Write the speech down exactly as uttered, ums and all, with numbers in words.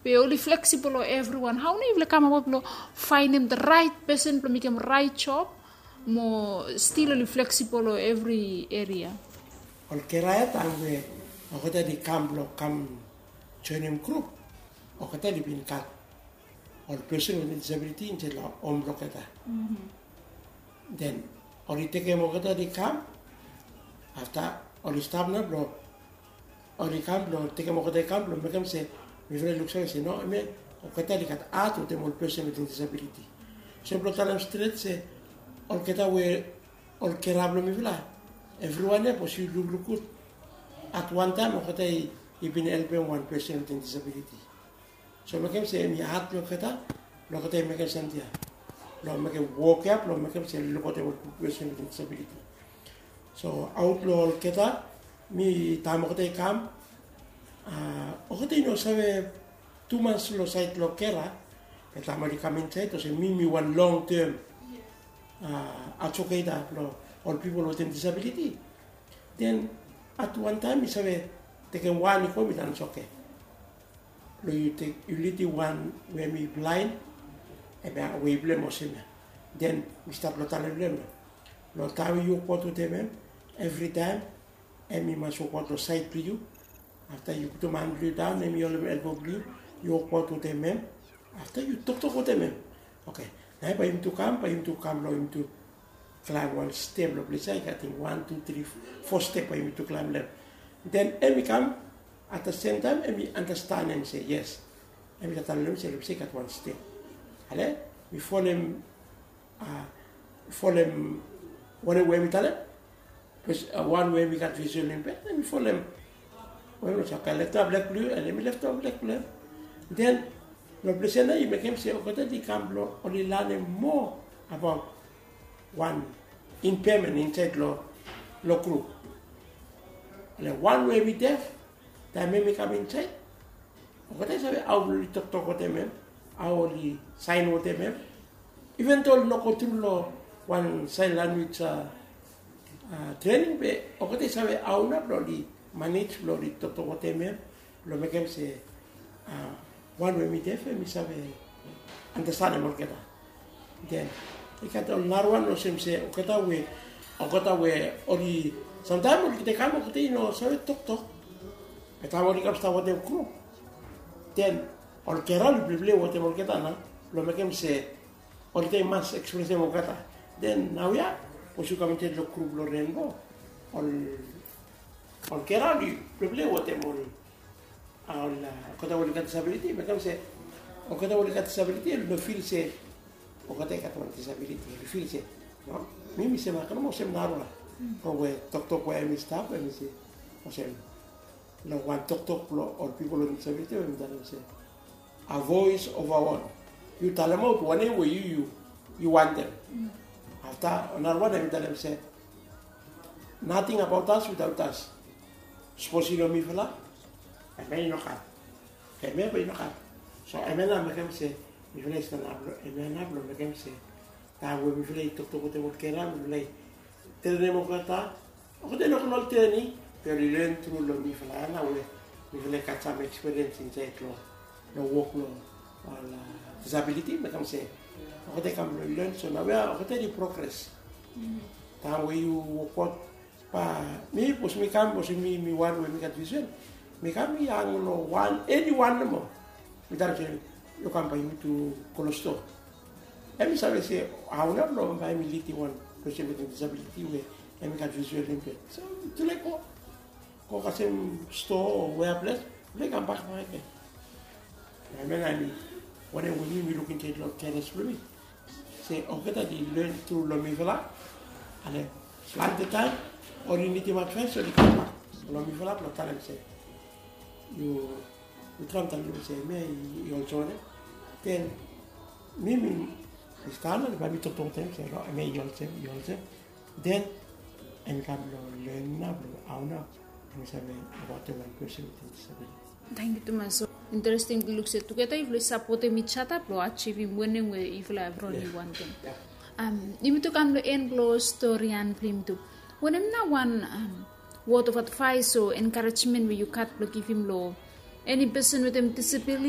Be oli fleksibol long evriwan. Hao nao yufala i kam abaot blong faenem the right person blong mekem rait job, mo stil oli fleksibol long evri eria? Ol kera ya taem we olgeta oli kam blong kam joenem grup, olgeta oli bin gat ol pesen wetem disabiliti insaed long hom blong olgeta. Den oli tekem olgeta oli kam, afta oli stap nao blong oli kam blong tekem olgeta i kam blong mekem se mifala i luksave se no, hemia olgeta oli gat hat wetem ol pesen wetem disabiliti. So blong talem stret se olgeta we ol kera blong mifala, evriwan ya, sapos yu lukluk gud, at wan taem olgeta i bin helpem wan pesen wetem disabiliti. So mekem se hemi hat blong olgeta blong olgeta i mekem samting ya, blong mekem wok ya blong mekem se lukaotem ol pipol we i stap wetem disabiliti. So aot long olgeta, mi taem olgeta i kam, a, olgeta i no save tumas long saed long kera. Be taem oli kam insaed olsem mi mi wan long tem advoketa blong ol pipol wetem disabiliti. Den at wan taem mi save tekem wan i go, mi talem se oke, long yu tek, yu lidim wan we hemi blaen, hemia wei blong hem olsem ya. Den mi stap long talem long hem ya, long taem we yu wokbaot wetem hem, evritaem hem i mas wokbaot long saed blong yu. Afta yu putum han blong yu daon, hem i holem elbo blong yu, yu wokbaot wetem hem. Afta yu toktok wetem hem. Oke, nao bae yumitu kam, bae yumitu kam long, yumitu klaem wan step long ples ya, i gat, ating, wan, tu, tri, fo step bae yumitu klaem long hem. Den hem i kam, at the same time hem i andastanem se yes. Hem i gat talem long hem se long ples ya i gat wan step. Ale, mi folem, a, folem wanem we hem i talem. Bikos, a, wan we hem i gat visual impaired, hem i folem wanem, olsem, oke, leftem leg blong yu, and hem i leftem leg blong hem. Den long ples ya nao i mekem se olgeta oli kam blong oli lanem moa abaot wan impairment insaed long, long grup. Ale, wan we hem i def, taem hem i kam insaed, olgeta i save hao blong oli toktok wetem hem, hao oli saen wetem hem. Iven do oli no gotru long wan saen lanwis, a, a, trening, be olgeta i save hao nao blong oli manej blong oli toktok wetem hem, blong mekem se, a, wan we hem i def hem i save andastanem olgeta. Den i gat ol narawan olsem se olgeta we, olgeta we oli, samtaem olgeta i kam, olgeta i no save toktok. Be taem oli kam stap wetem grup, den ol kera oli pleplei wetem olgeta nao, blong mekem se olgeta i mas ekspresem olgeta. Den naoia, sapos yu kam insaed long grup blong Rainbow, ol, ol kera oli pleplei wetem ol, a, ol, a, olgeta we oli gat disabiliti, mekem se olgeta we oli gat disabiliti oli no fil se olgeta i gat wan disabiliti, oli fil se, no, mi mi sem, a, kam olsem narafala. From we toktok we hem i stap, hem i se olsem, long wan toktok blong ol pipol wetem disabiliti, hem i talem se, a voice of our own. Yu talemaot wanem we yu, yu, yu wantem. Afta narawan hem i talem se, nothing about us without us. Sapos i no mifala, hemia i no kam. Hemia bae i no kam. So hemia nao mekem se mifala i stanap long, hemia nao blong mekem se taem we mifala i toktok wetem ol kera, mifala i trenem olgeta, olgeta i no go long ol trening, be oli len tru long mifala ya nao we mifala i gat sam ekspiriens insaed long, long wok long ol, a, disabiliti, mekem se olgeta i kam blong len, so naoia olgeta i progres. Taem we yu wokbaot, bae mi, sapos mi kam, sapos mi, mi wan we mi gat visual, mi kam, mi hang long wan, eni wan nomo. Mi talem se, yu kam, bae yumitu go long stoa. Hem i save se hao nao blong bae hem i lidim wan pesen wetem disabiliti we hem i gat visual impaired. So mitufala i go, go kasem stoa o wea ples, mitufala i kambak bakegen. Hemia nao hemi wanem we mi, mi luk insaed long keras blong mi, se olgeta oli len tru long mifala. Ale, plante taem oli nidim advaes, oli kambak long mifala blong talem se, yu, yu traem talem long mi se hemia i, i olsem wanem. Den mi, mi, mi stap nao, bae mi toktok wetem hem se no, hemia i olsem, i olsem. Den hem i kam blong len nao blong hao nao hem i save abaotem wan pesen wetem disabiliti. Tangkiu tumas. So interesting blong luk se tugeta yufala i sapotem each other blong ajivim wanem we yufala evriwan i wantem. Am, yumitu kam long en blong storian blong yumitu. Wanem nao wan, am, word of advice o encouragement we yu gat blong givim long eni pesen wetem disabiliti